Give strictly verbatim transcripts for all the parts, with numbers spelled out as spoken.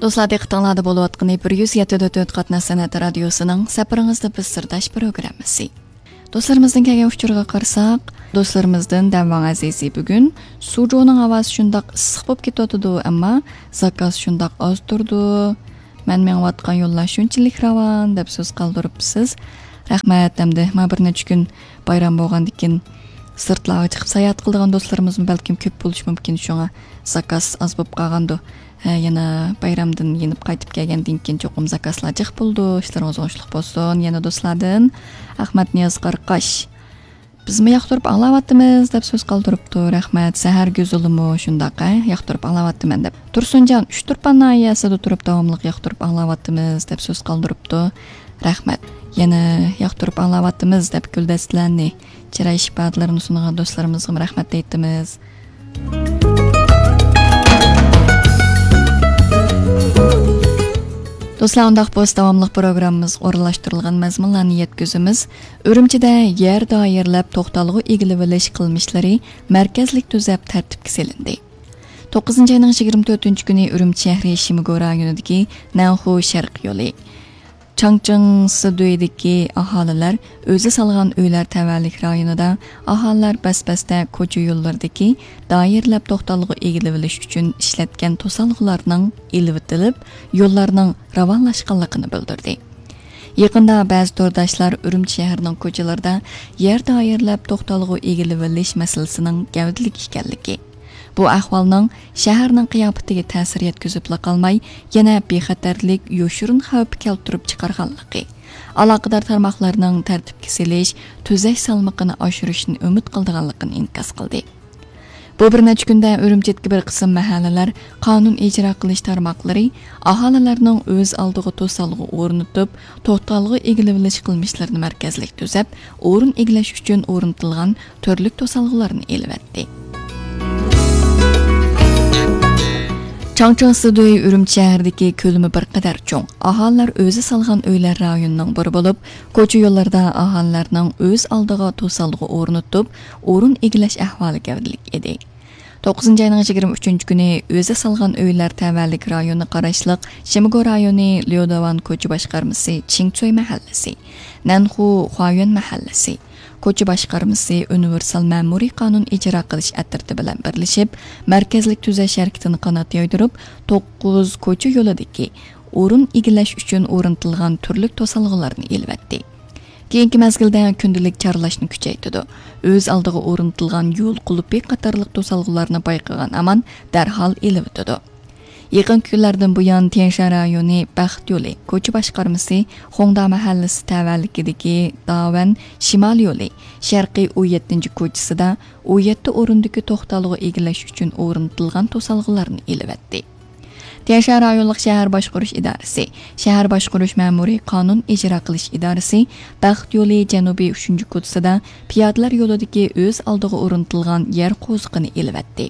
دوستلار، دىققىتىڭلاردا بولۇۋاتقىنى بىر يۈز يەتتە نۇقتا تۆت قاتناش سەنئەت رادىيوسىنىڭ سەپىرىڭىزدە بىز سىرداش پروگراممىسى. دوستلارىمىزدىن كەلگەن ئۇچۇرغا قارىساق، دوستلىرىمىزدىن دەمۋاڭ ئەزىزى بۈگۈن سۇجۇنىڭ ھاۋاسى شۇنداق ئىسسىق بولۇپ كېتىۋاتىدۇ، ئەمما زاكاز شۇنداق ئاز تۇرىدۇ. مەن مېڭىۋاتقان يوللار شۇنچىلىك راۋان، دەپ سۆز قالدۇرۇپسىز. رەھمەت. ئەمدى ما بىر نەچچە كۈن بايرام بولغاندىكىن سىرتلارغا چىقىپ ساياھەت قىلىدىغان دوستلىرىمىزمۇ بەلكىم كۆپ بولۇشى مۇمكىن، شۇڭا زاكاز ئاز بولۇپ قالغاندۇ. ھە، يەنە بايرامدىن يېنىپ قايتىپ كەلگەندىن كېيىن چوقۇم زاكازلار جىق بولىدۇ. ئىشلىرىڭىز ئوڭۇشلۇق بولسۇن. يەنە دوستلاردىن ئەخمەت نىياز قاراقاش. بىزمۇ ياقتۇرۇپ ئاڭلاۋاتىمىز، دەپ سۆز قالدۇرۇپتۇ. رەھمەت. سەھەر گۈزىلىمۇ شۇنداق، ھە، ياقتۇرۇپ ئاڭلاۋاتىمەن، دەپ. تۇرسۇنجان، ئۇچتۇرپان ناھىيەسىدە تۇرۇپ داۋاملىق ياقتۇرۇپ ئاڭلاۋاتىمىز، دەپ سۆز قالدۇرۇپتۇ. رەھمەت. يەنە ياقتۇرۇپ ئاڭلاۋاتىمىز، دەپ گۈلدەستىلەرنى، چىراي ئىپادىلىرىنى سۇنغان دوستلىرىمىزغىمۇ رەھمەت ئېيتىمىز. دوستلار، ئۇنداق بولسا داۋاملىق پروگراممىمىزغا ئورۇنلاشتۇرۇلغان مەزمۇنلارنى يەتكۈزىمىز. ئۈرۈمچىدە يەر دائىرىلەپ توختالغۇ ئىگىلىۋېلىش قىلمىشلىرى مەركەزلىك تۈزەپ تەرتىپكە سېلىندى. توققۇزىنچى ئاينىڭ يىگىرمە تۆتىنچى كۈنى ئۈرۈمچى شەھىرى شىمگو رايونىدىكى نەنخۇ شەرق يولى، چاڭچىڭ سىدۈيدىكى ئاھالىلەر ئۆزى سالغان ئۆيلەر تەۋەلىك رايونىدا ئاھالىلەر بەس-بەستە كوچا يوللىرىدىكى دائىرىلەپ توختالغۇ ئىگىلىۋېلىش ئۈچۈن ئىشلەتكەن توسالغۇلارنىڭ ئېلىۋېتىلىپ، يوللارنىڭ راۋانلاشقانلىقىنى بىلدۈردى. يېقىندا بەزى تورداشلار ئۈرۈمچى شەھىرىنىڭ كوچىلىرىدا يەر دائىرىلەپ توختالغۇ ئىگىلىۋېلىش مەسىلىسىنىڭ گەۋدىلىك ئىكەنلىكى، بۇ ئەھۋالنىڭ شەھەرنىڭ قىياپىتىگە تەسىر يەتكۈزۈپلا قالماي، يەنە بىخەتەرلىك، يوشۇرۇن خەۋپ كەلتۈرۈپ چىقارغانلىقى، ئالاقىدار تارماقلارنىڭ تەرتىپكە سېلىش، تۈزەش سالمىقىنى ئاشۇرۇشنى ئۈمىد قىلىدىغانلىقىنى ئىنكاس قىلدى. بۇ بىر نەچچە كۈندە ئۈرۈمچىدىكى بىر قىسىم مەھەللىلەر قانۇن ئىجرا قىلىش تارماقلىرى ئاھالىلەرنىڭ ئۆز ئالدىغا توسالغۇ ئورنىتىپ، توختالغۇ ئىگىلىۋېلىش قىلمىشلىرىنى مەركەزلىك تۈزەپ، ئورۇن ئىگىلەش ئۈچۈن ئورنىتىلغان تۈرلۈك توسالغۇلارنى ئېلىۋەتتى. چاڭچىڭ سىدۈي ئۈرۈمچى شەھىرىدىكى كۆلىمى بىر قەدەر چوڭ، ئاھالىلەر ئۆزى سالغان ئۆيلەر رايونىنىڭ بىرى بولۇپ، كوچا يوللىرىدا ئاھالىلەرنىڭ ئۆز ئالدىغا توسالغۇ ئورنىتىپ، ئورۇن ئىگىلەش ئەھۋالى گەۋدىلىك ئىدى. توققۇزىنچى ئاينىڭ يىگىرمە ئۈچىنچى كۈنى ئۆزى سالغان ئۆيلەر تەۋەلىك رايونىغا قاراشلىق شىمگو رايونى ليوداۋان كوچا باشقارمىسى چىڭچۈي مەھەللىسى، نەنخۇ خۇايۈەن مەھەللىسى، كوچا باشقارمىسى ئۇنىۋېرسال مەمۇرىي قانۇن ئىجرا قىلىش ئەترىتى بىلەن بىرلىشىپ، مەركەزلىك تۈزەش ھەرىكىتىنى قانات يايدۇرۇپ، توققۇز كوچا يولىدىكى ئورۇن ئىگىلەش ئۈچۈن ئورنىتىلغان تۈرلۈك توسالغۇلارنى ئېلىۋەتتى. كېيىنكى مەزگىلدە كۈندىلىك چارلاشنى كۈچەيتىدۇ. ئۆز ئالدىغا ئورنىتىلغان يول قۇلۇپى قاتارلىق توسالغۇلارنى بايقىغان ئامان دەرھال ئېلىۋېتىدۇ. يېقىنقى كۈنلەردىن بۇيان، تيەنشان رايونى بەخت يولى كوچا باشقارمىسى خۇڭدا مەھەللىسى تەۋەلىكىدىكى داۋەن شىمال يولى شەرقىي ئون يەتتىنچى كوچىسىدا ئون يەتتە ئورۇندىكى توختالغۇ ئىگىلەش ئۈچۈن ئورنىتىلغان توسالغۇلارنى ئېلىۋەتتى. تيەنشان رايونلۇق شەھەر باشقۇرۇش ئىدارىسى، شەھەر باشقۇرۇش مەمۇرىي قانۇن ئىجرا قىلىش ئىدارىسى بەخت يولى جەنۇبىي ئۈچىنچى كوچىسىدا پىيادىلەر يولىدىكى ئۆز ئالدىغا ئورنىتىلغان يەر قوزۇقىنى ئېلىۋەتتى.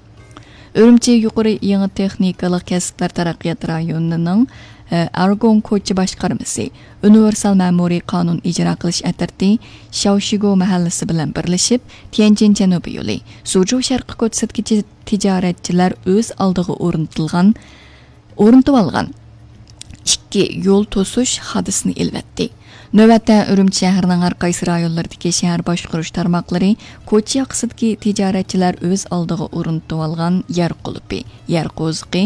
ئۈرۈمچى يۇقىرى يېڭى تېخنىكىلىق كەسىپلەر تەرەققىيات رايونىنىڭ، ئە، ئارگوڭ كوچا باشقارمىسى ئۇنىۋېرسال مەمۇرىي قانۇن ئىجرا قىلىش ئەترىتى شاۋشىگو مەھەللىسى بىلەن بىرلىشىپ، تيەنجىن جەنۇبىي يولى، سۇجۇ شەرقىي كوچىسىدىكى تىجارەتچىلەر ئۆز ئالدىغا ئورنىتىلغان، ئورنىتىۋالغان ئىككى يول توسۇش ھادىسىنى ئېلىۋەتتى. نۆۋەتتە ئۈرۈمچى شەھىرىنىڭ ھەر قايسى رايونلىرىدىكى شەھەر باشقۇرۇش تارماقلىرى كوچا ياقىسىدىكى تىجارەتچىلەر ئۆز ئالدىغا ئورنىتىۋالغان يەر قۇلۇپى، يەر قوزۇقى،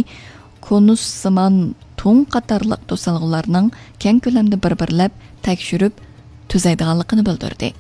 كونۇسسىمان تۇڭ قاتارلىق توسالغۇلارنىڭ كەڭ كۆلەمدە بىر-بىرلەپ تەكشۈرۈپ تۈزەيدىغانلىقىنى بىلدۈردى.